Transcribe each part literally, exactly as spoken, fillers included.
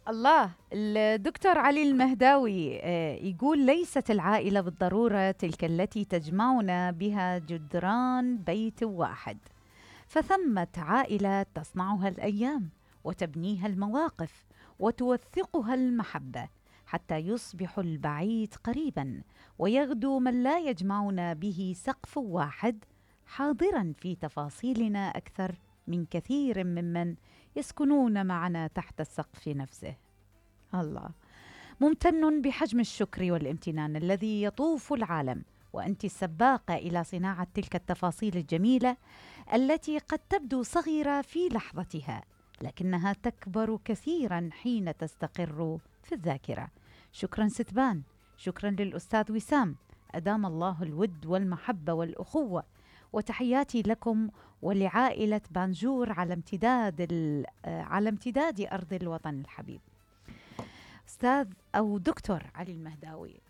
الله. الدكتور علي المهداوي آه، يقول: ليست العائلة بالضرورة تلك التي تجمعنا بها جدران بيت واحد، فثمة عائلة تصنعها الأيام وتبنيها المواقف وتوثقها المحبة حتى يصبح البعيد قريبا، ويغدو من لا يجمعنا به سقف واحد حاضرا في تفاصيلنا أكثر من كثير ممن يسكنون معنا تحت السقف نفسه. الله. ممتن بحجم الشكر والامتنان الذي يطوف العالم، وأنت السباقة إلى صناعة تلك التفاصيل الجميلة التي قد تبدو صغيرة في لحظتها لكنها تكبر كثيرا حين تستقر في الذاكرة. شكرا ستبان، شكرا للأستاذ وسام، أدام الله الود والمحبة والأخوة، وتحياتي لكم ولعائلة بانجور على امتداد على امتداد أرض الوطن الحبيب. أستاذ أو دكتور علي المهداوي،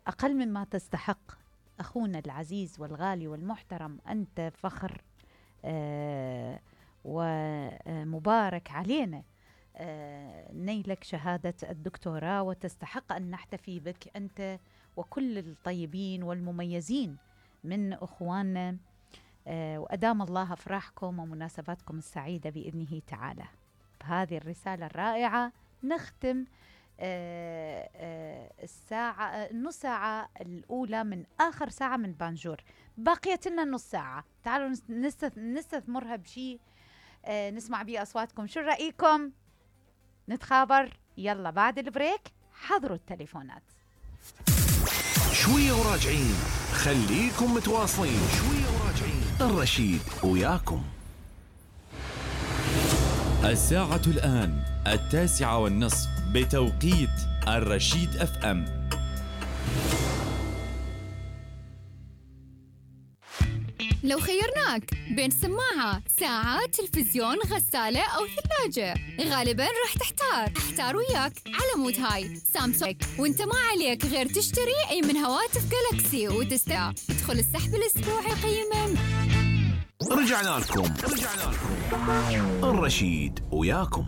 أقل مما تستحق أخونا العزيز والغالي والمحترم، أنت فخر ومبارك علينا نيلك شهادة الدكتوراه، وتستحق أن نحتفي بك أنت وكل الطيبين والمميزين من أخواننا، وأدام الله أفراحكم ومناسباتكم السعيدة بإذنه تعالى. بهذه الرسالة الرائعة نختم الساعة النص ساعة الأولى من آخر ساعة من بانجور. بقيت لنا نص ساعة، تعالوا نستثمرها بشيء نسمع بيه أصواتكم. شو رأيكم؟ نتخابر يلا بعد البريك. حضروا التليفونات. شوية وراجعين، خليكم متواصلين. شوية وراجعين، الرشيد وياكم. الساعة الآن التاسعة والنصف بتوقيت الرشيد اف ام. لو خيرناك بين سماعة، ساعة، تلفزيون، غسالة أو ثلاجة، غالباً راح تحتار. احتار وياك على مود هاي سامسونج، وانت ما عليك غير تشتري أي من هواتف جالكسي وتستمتع. ادخل السحب الأسبوعي قيمة. رجعنا لكم رجعنا لكم الرشيد وياكم.